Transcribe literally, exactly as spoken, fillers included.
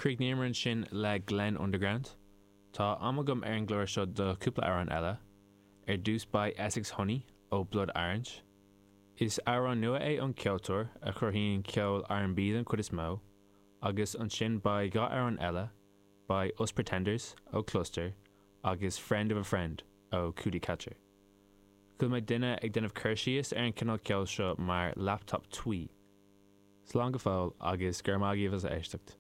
Chríochnaíomar ansin le Glenn Underground. Tá am agam ar an gclár seo do chúpla amhrán eile. Ar dtús beidh Essex Honey ó Blood Orange. Is amhrán nua é ón ceoltóir a chruthaíonn ceol R and B den chuid is mó, agus ansin beidh dhá amhrán eile, beidh Us Pretenders ó Cluster agus Friend of a Friend ó Cootie Catcher. Chuala mé duine ag déanamh cur síos ar an cineál ceoil seo mar laptop twee. Slán go fóill agus gur maith agaibh as éisteacht.